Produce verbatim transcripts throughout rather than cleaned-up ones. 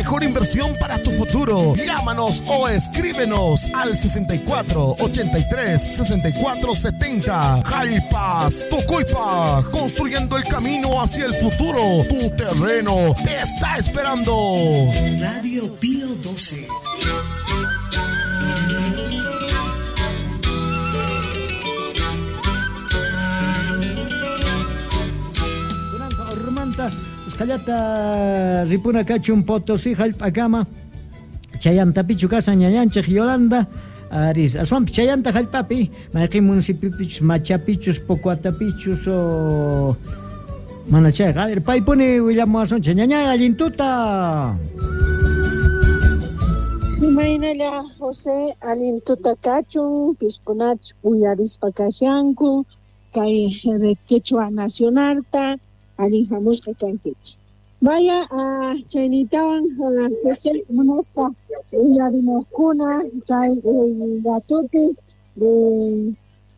mejor inversión para tu futuro. Llámanos o escríbenos al sesenta y cuatro, ochenta y tres, sesenta y cuatro, setenta. Jalpas, Tocoipa, construyendo el camino hacia el futuro. Tu terreno te está esperando. Radio Pío doce. Usqallata ripuna kachun Potosí jallp'akama chayantapichu kasan ñañanchej Yolanda aris aswanpis chayanta jallp'api mayqin municipipichus Machapichus Pocuatapichus o mana chayqa a ver paypuni willamuwasunchej ñañay allintuta. Imaynalla José allintuta kachun piskunach uyarispa kashanku kay Quechua Nacionalta allin hamusqa kankichik. Vaya uh, chaynitawan uh, José munasqa uyarimuqkuna chay ratupi de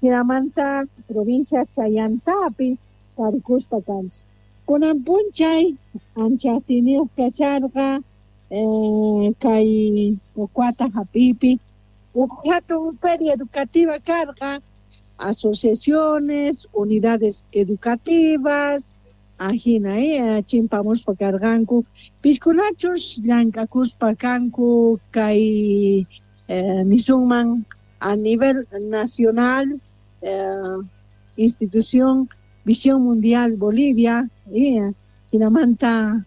Jinamanta provincia Chayantapi tarikuspa kanchik. Kunan p'unchay ancha atiyniyuq kasharqa eh, kay Pocuata hap'ipi uj hatun feria educativa karqa, asociaciones, unidades educativas ajina eh, chimpamuspa karqanku piskunachus llank'akuspa kanku kay eh, nisunman a nivel nacional eh, institución Visión Mundial Bolivia eh, jinamanta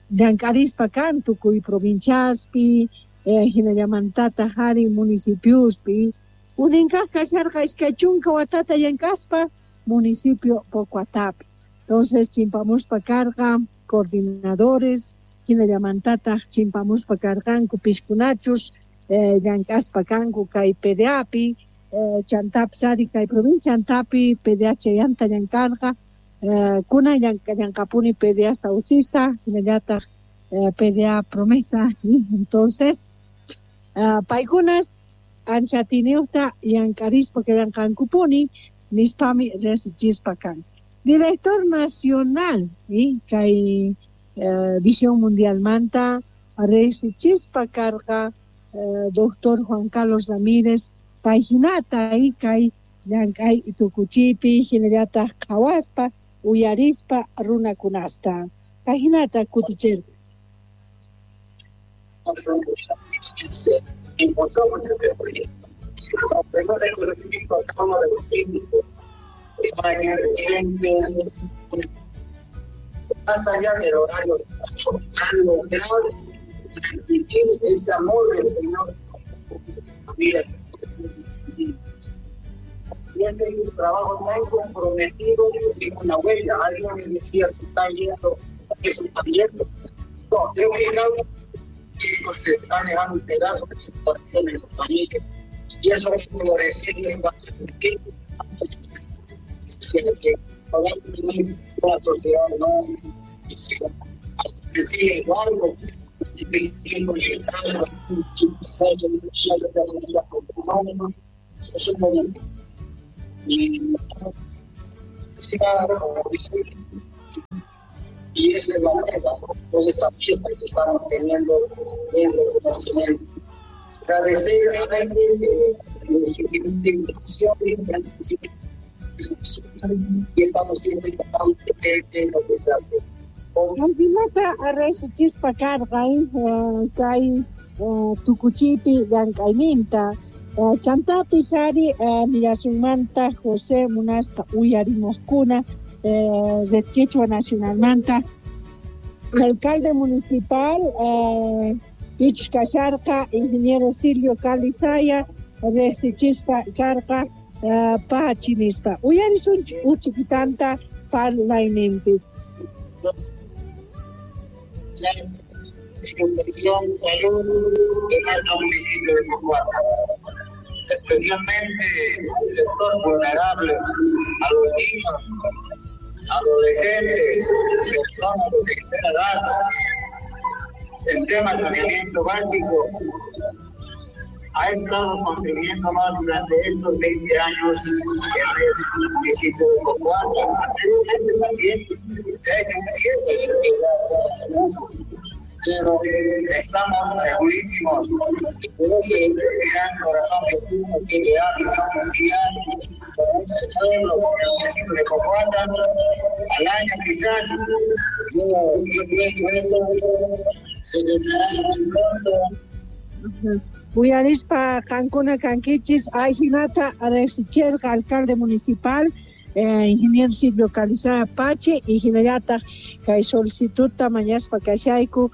llank'arispa kan tukuy provinciaspi eh, jinallamantataq ari municipiospi uninkaq kasharqa iskay chunka watata llank'aspa municipio Pocuatapi. Entonces chimpamuspa karqa coordinadores jinallamantataq chimpamuspa karqanku piskunachus eh, llank'aspa kanku kay P D A-pi eh, chantapis ari kay provincia Antapi P D A chayanta llank'arqa eh, kunan llank'apuni P D A Saucisa jinallataq eh, P D A Promesa y entonces eh, paykunas ancha atiyniyuqta llank'arispa llank'ankupuni nispami riqsichispa kan. Director Nacional y kay eh, Visión Mundialmanta riqsichispa karqa eh, doctor Juan Carlos Ramírez payhinata y kay llank'ay tukuchipi hinallataq qhawaspa uyarispa runakunasta kayhinata kutichirqa. Se impulsó mucho este proyecto. Tenemos el conocimiento a cada uno de los técnicos, docentes, más allá del horario, lograr transmitir ese amor del Señor. Mira, y es un trabajo tan comprometido y con la huella. Alguien me decía, se está viendo, que se está viendo. No, creo que cada uno se está dejando un pedazo de su corazón en la familia. Y eso es florecer y eso va a permitir que podamos tener una sociedad no decir Eduardo es un momento y esa es la meta de esta fiesta que estamos teniendo en reconocimiento. Agradecer a la y estamos siempre tratando de ver lo que se hace. Ajinata riqsichispa karqa kay tukuchipi llank'ayninta chantapis ari nillasunmanta José munasqa uyarimuqkuna Red Quechua Nacionalmanta alcalde municipal pichus kasharqa ingeniero Silvio Calizaya riqsichispa karqa pachi nispa uyarisunchik uchikitanta parlayninpi. Educación, salud de nuestro municipio de Pocuata, especialmente al sector vulnerable, a los niños, adolescentes, personas de tercera edad, en temas de saneamiento básico. Ha estado contribuyendo más durante estos veinte años en el municipio de Pocuata. Anteriormente también se ha hecho un cierre. Pero estamos segurísimos de ese gran corazón que tiene P D A, visión mundial, con ese pueblo, con el municipio de Pocoata, al año quizás, yo, yo creo que eso se les hará muy pronto. Uyarispa qankuna kankichis ajinata riqsicherqa alcalde municipal eh, ingeniero Silvio Calizaya Pache y hinallataq kay solicitudta mañaspa kashayku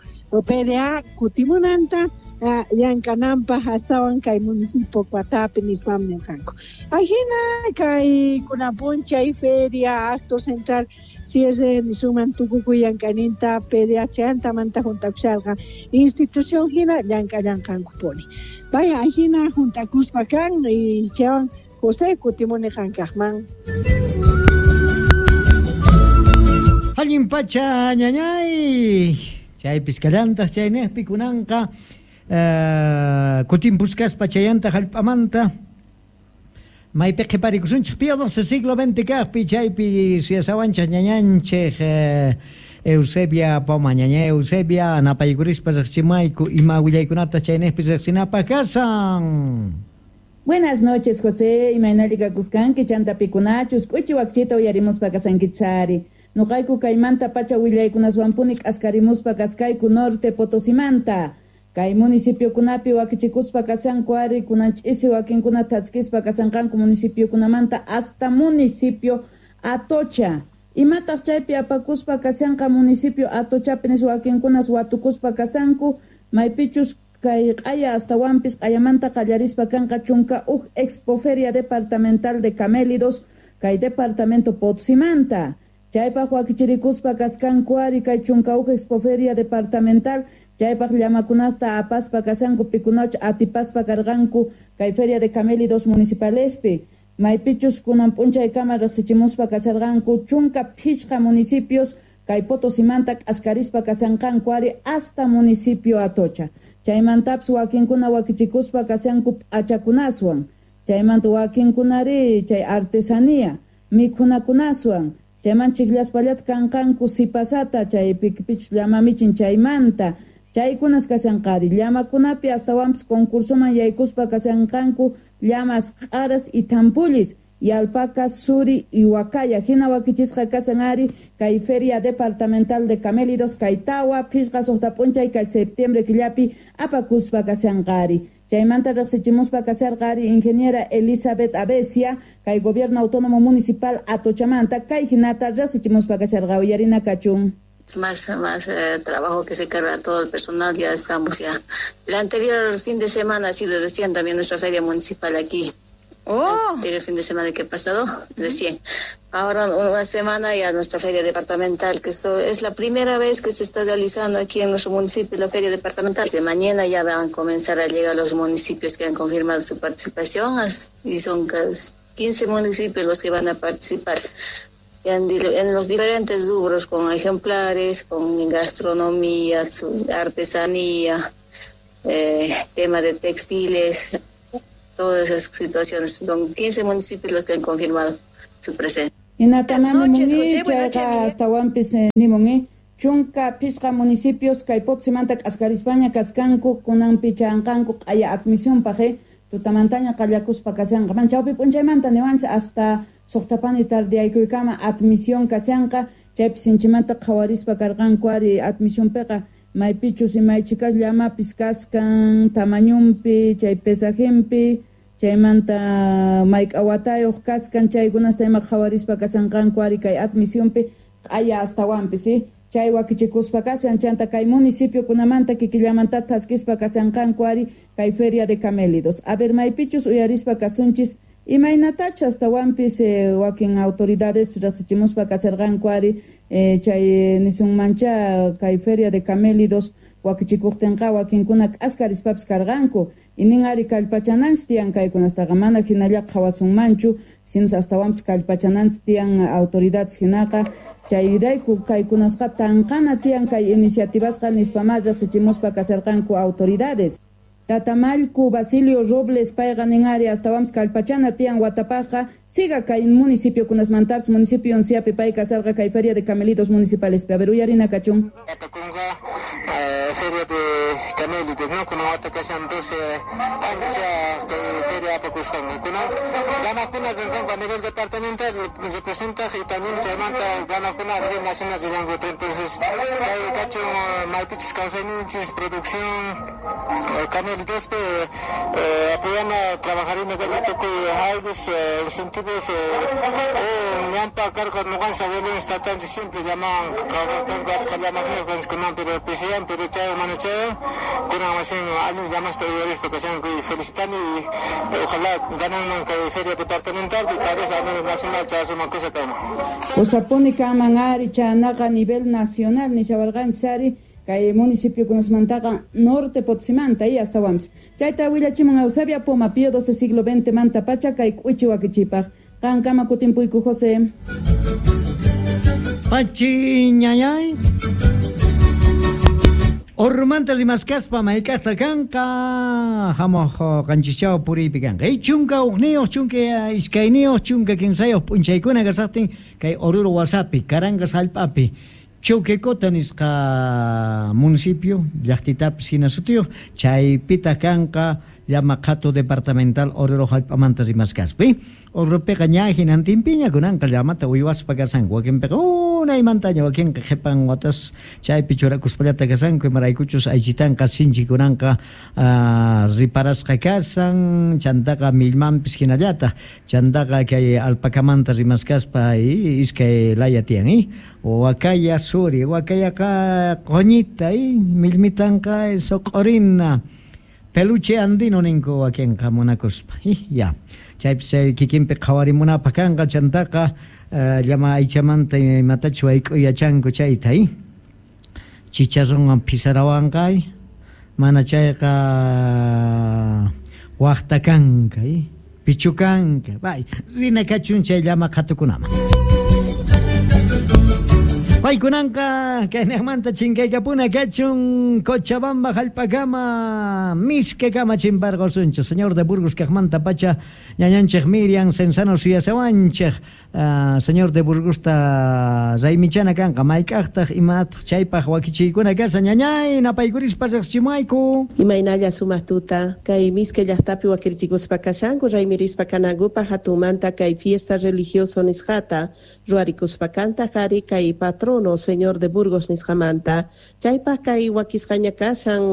P D A kutimunanta eh, llank'ananpaq astawan kay municipio Coatapi nispam nirqanku. Ajina kay kunan p'unchay feria acto central si es de nisuman tukukuy llank'ayninta P D A chantamanta juntakusharqa institución hina llank'allanqankupuni. Vaya ajina juntakuspa kan y chaywan José kutimuni qankaqman. Allin pacha ñañay chaypis kallantaq chaynejpi kunanqa eh, kutimpusqaspa chayanta hallp'amanta maypi qhiparikusunchik Pío doce siglo veinte kaqpi chaypi suyasawanchik ñañanchik eh, Eusebia Poma ñaña Eusebia napaykurispa riqchimayku ima willaykunata chaynejpi riqsinapaq kasan. Buenas noches, José. Imaynalli kakuskanki chanta pikunachus k'uchi wakchita uyarimuspa kasankichari. Nuqayku kaymanta pacha willaykunaswanpuni k'askarimuspa kaskayku norte Potosimanta. Kay municipiokunapi wakichikuspa kasanku ari kunan ch'isi wakinkuna thaskispa kasanqanku municipiokunamanta hasta municipio Atocha. Imataq chaypi apakuspa kashanqa municipio Atochapi nispa wakinkunas watukuspa kasanku maypichus kay q'aya astawanpis q'ayamanta qallarispa kanqa chunka uj expoferia departamental de camélidos kay departamento Potosimanta. Chaypaq wakichirikuspa kaskanku ari kay chunka uj expoferia departamental chaypaq llamakunasta apaspa kasanku pikunach atipaspa karqanku kay feria de camélidos municipalespi. Maypichus kunan p'unchaykama riqsichimuspa kasharqanku chunka phishqa municipios kay Potosimanta k'askarispa kasanqanku ari hasta municipio Atocha. Chaymantapis wakinkuna wakichikuspa kasanku p'achakunaswan. Chaymanta wakinkunari chay artesanía mikhunakunaswan. Chayman chikllaspallata kanqanku sipasata chay pikipichus llamamichin chaymanta. Chaykunas kasanqari llamakunapi astawanpis concursoman yaykuspa kasanqanku llamas q'aras y tampullis y alpacas, suri y huacaya. Hina wakichisqa kasan ari kay feria departamental de camélidos kay tawa phishqa suqta p'unchay kay septiembre killapi apakuspa kasanqari. Chaymanta riqsichimuspa kasarqa ari ingeniera Elizabeth Abesia kay gobierno autónomo municipal Atochamanta kay hinata riqsichimuspa kasharqa uyarina kachun. Más, más eh, trabajo que se carga todo el personal, ya estamos ya. El anterior fin de semana ha sido decían también nuestra feria municipal aquí. Oh. El anterior fin de semana que pasado, decían. Ahora una semana ya nuestra feria departamental, que eso es la primera vez que se está realizando aquí en nuestro municipio la feria departamental. De mañana ya van a comenzar a llegar los municipios que han confirmado su participación y son casi quince municipios los que van a participar. En, en los diferentes rubros, con ejemplares, con gastronomía, su artesanía, eh, tema de textiles, todas esas situaciones. Son quince municipios los que han confirmado su presencia. Buenas noches, José. Buenas noches. Chunka phishqa municipios kay Potosimanta k'askarispaña kaskanku kunanpi chanqanku q'aya admisionpaq tutamantaña qallakuspa kashanqa man chawpi p'unchaymanta niwanchik hasta suqtapani tardiyaykuykama admisión kashanqa chaypi sinchimanta qhawarispa karqanku ari admisionpiqa maypichus imaychikas llamapis kaskan tamañunpi chay pesajinpi chaymanta mayk'a watayuq kaskan chaykunasta ima qhawarispa kashanqanku ari kay admisionpi q'aya astawanpis chay wakichikuspa kashan chanta kay municipiokunamanta kikillamanta thaskispa kashanqanku ari kay feria de camélidos. A ver maypichus uyarispa kasunchis imaynatachu astawanpis eh, wakin autoridades riqsichimuspa kasharqanku ari eh, chay nisunmancha kay feria de camélidos wakichikuqtinqa wakinkuna k'askarispapis karqanku inin ari kallpachananchis tiyan kaykunastaqa mana hinalla qhawasunmanchu sinus astawanpis kallpachananchis tiyan autoridades hinaqa chayrayku kaykunasqa tanqana tiyan kay iniciativasqa nispamá riqsichimuspa kasharqanku autoridades. Tatamallku Basilio Robles payqa nin ari astawanpis kallpachana tiyan watapaqqa siga kay municipiokunasmantapis municipio Onciapi pay kasarqa kay feria de camelidos municipales. A ver uyarina kachun. Apakunqa feria de camélidos, ¿no? Kuna wata kashan doce ancha feria apakushan. Kuna ganakuna zenkanku a nivel departamental representa y también chaymanta ganakuna a nivel nacional zenkanku. Entonces, kay kachun maypichus kawsayninchis producción camélidos pe apoyana trabajarina kay tukuy aylus incentivos ñampa karqa ñuqanchis abuelos tatanchis siempre llamaban kawsakunku asqa llamas ñuqanchis kunan pero pisiyan pero chaywan mana chaywan kunan masin allin llamasta uyarispa kashanku y felicitani y ojalá gananman kay feria departamental y tal vez a nivel nacional chayasuman kusa kanman. Kusapuni kanman ari chaynaqa a nivel nacional nishawarqanchis ari kay municipio kunasmantaqa norte Potosímanta y astawanpis. Chayta willachimun Eusebia Poma Pío doce siglo veinte manta pacha kay k'uchi wakichipaq. Qankama kutimpuyku José. Pachi ñañay. Ormanta rimaskaspa mayk'aqta kanqa hamuq qanchischaw puriypi kanqa. Chunka hukniyuq, chunka iskayniyuq, chunka kimsayuq p'unchaykuna kasaqtin kay Oruro wasapi, Carangas hallp'api, Choquecota nisqa municipio, llaqtitapis hina sutiyuq, chaypitaq kanqa llama qhatu departamental Oruro hallp'amanta rimaskaspa. Oruropiqa ña hinantinpiña kunanqa llamata uywaspa kasanku, wakinpiqa unaymantaña, wakinqa qhipan watas chaypi churakuspallata kasanku, imaraykuchus aychitanqa sinchi kunanqa riparasqa kasan, chantaqa millmanpis hinallataq, chantaqa kay alpacamanta rimaskaspa iskay laya tiyan, wakaya suri, wakayaqa qoñita, millmitanqa soq'orina. Peluche andino ninku wakinqa munakuspa. Ya. Chaypis chay kikinpi qhawarimunapaq kanqa chantaqa llama aychamanta imatachu wayk'uy yachanku chayta, chicharronwan pisarawanqa, mana chayqa waqta kanka, pichukanka. Bay, rina kachun chay llama qhatukunaman. Paykunanqa kaynaqmanta chinkaykapuna kachun Cochabamba hallp'akama miskakama chimparqusunchik. Señor de Burgos kaqmanta pacha ñañanchik Miriam Cenzano suyasawanchik. Uh, señor de Burgosta raymichana kanqa mayk'aqtaq imataq chaypaq wakichiykuna kashan ñañay napaykurispa riqsichimayku. Imaynalla sumaq tuta kay miska llaqtapi wakirichikuspa kashanku raymirispa kanankupaq hatunmanta kay fiesta religioso nisqata ruwarikuspa kanta qhari kay patrono Señor de Burgos nisqamanta chaypaq kay wakisqaña kashan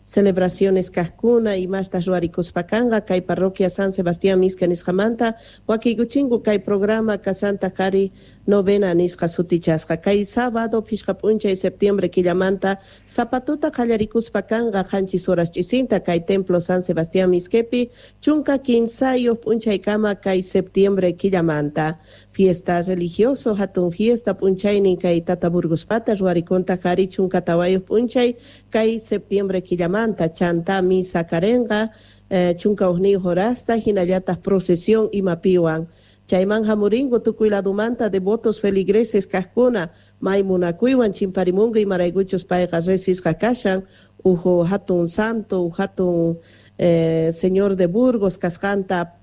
celebraciones kaqkuna imastas ruwarikuspa kanqa kay parroquia San Sebastián Miska nisqamanta wakiykuchinku kay programa kasanta qhari novena nisqa sutichasqa kay sábado phishqa p'unchay septiembre killamanta zapatuta qallarikuspa kanqa qanchis horas ch'isinta kay templo San Sebastián Misquepi chunka kinsayuq p'unchaykama kay septiembre killamanta fiesta religioso hatun fiesta p'unchaynin kay Tata Burgospata ruwarikunta qhari chunka tawayuq p'unchay kay septiembre killamanta chanta misa karenqa eh, chunka hukniyuq horasta hinallataq procesión imapiwan chayman hamuringu tukuy ladumanta devotos feligreses kaqkuna may munakuywan chimparimunku imaraykuchus payqa resisqa kashan uhu hatun santo uhu hatun eh, señor de Burgos kasqanta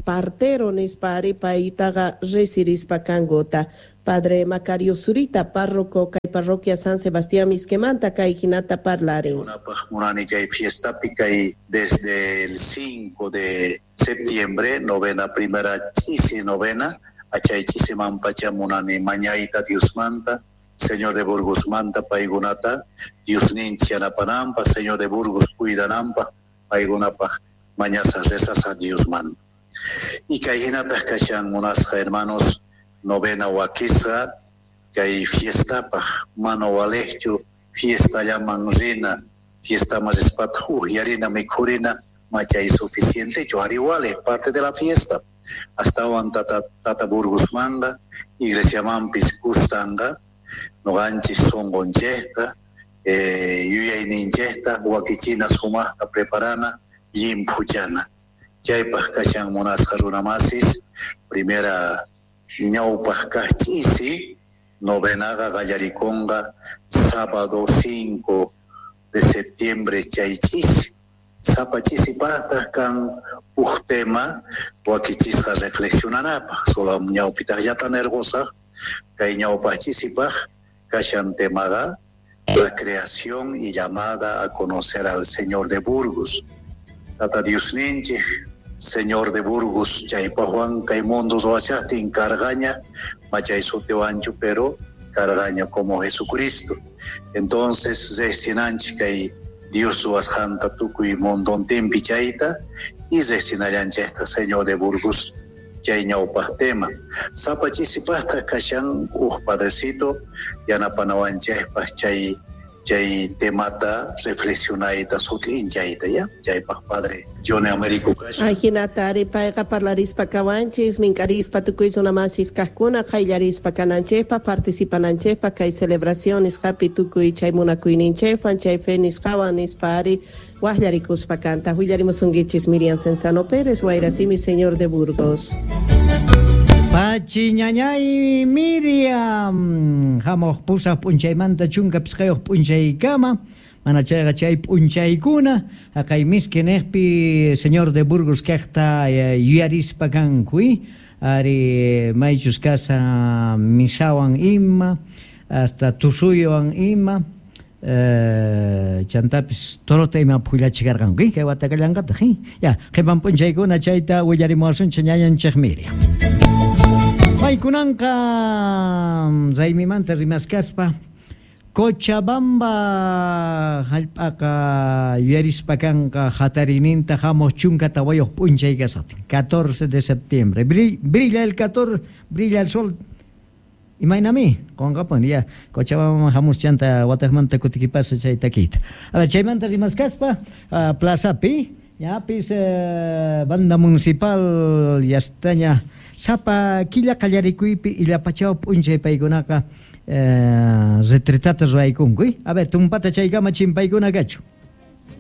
partero nispa ari paytaqa resirispa kankuta. Padre Macario Zurita, párroco kay parroquia San Sebastián Misquemanta, kay hinata parlarin. Munani kay fiesta kay desde el cinco de septiembre, novena primera chisi novena, achay chisi mampacha munani mañaita Diosmanta, Señor de Burgos manta paykunata, Dios ninchi anapanampa, Señor de Burgos cuidanampa, paykunapaj mañasas rezas a Dios manta. Y kay hinataq kashan munasqa hermanos, novena wakisqa kay fiestapaq mana walejchu fiesta llaman rina fiesta más rispataq uhyarina mikhurina machay suficientechu ari wale parte de la fiesta astawan tata tata Burgos manga iglesiamanpis kustanqa noqanchis sunqunchikta eh, yuyayninchikta wakichina sumaqta preparana llimphuchana chaypaq kashan munasqa runamasis primera ñawpaq kaq ch'isi novenaqa qallarikunqa sábado cinco de septiembre chay ch'isi sapa ch'isipaqtaq kan uj tema wakichisqa reflexionanapaq solo ñawpitaqllata nirqusaq kay ñawpaq ch'isipaq kashan temaqa La creación y llamada a conocer al Señor de Burgos. Tata Dios ninchik, Señor de Burgos, chaypajwan kay mundo ruwashaqtin karqaña, machay sutiwanchu, pero karqaña como Jesucristo. Entonces, riqsinanchik kay Dios ruwasqanta tukuy mundontinpi chayta y riqsinallanchikta Señor de Burgos chay ñawpaq tema. Sapa chisipaqta kashan uj padrecito yanapanawanchikpaq chay chay temata reflexionayta sut'inchayta ya chaypaq padre Johnny Américo kashan. Ajinata ari payqa parlarispa kawanchis minkarispa tukuy runamasis kaqkuna qayllarispa kananchikpaq participananchikpaq kay celebración nisqapi tukuy chay munakuyninchikwan chay fe nisqawan nispa ari waqllarikuspa kanta. Willarimusunkichis Miriam Cenzano Pérez, Wayrasimi, Señor de Burgos. Pachi ñañay Miriam, hamuq pusaq p'unchaymanta chunka pisqayuq p'unchaykama, mana chayqa chay p'unchaykuna, haqay miski niqpi Señor de Burgos kaqta yuyarispa kanku, ari maychus kasa misawan ima, hasta tusuywan ima, eh, chantapis torota ima phullachikarqanku, kay watakallanqataq, ya qhipan p'unchaykuna chayta willarimuwasunchik ñañanchik Miriam. Paykunanqa raymimanta rimaskaspa Cochabamba hallp'aqa yuyarispa kanqa hatarininta hamuq chunka tawayuq p'unchay kasaqtin, catorce de septiembre. Brilla el catorce, brilla el sol. Imaynami qonqapuni ya Cochabamba hamus chanta wataqmanta kutikipasa chay takiyta. A ver, chaymanta rimaskaspa uh, plazapi ñapis uh, banda municipal yastaña sapa killa qallarikuypi illapachaw p'unchay paykunaqa eh, retretata ruwaykunku. A ver, tumpata chaykama chimpaykuna kachu.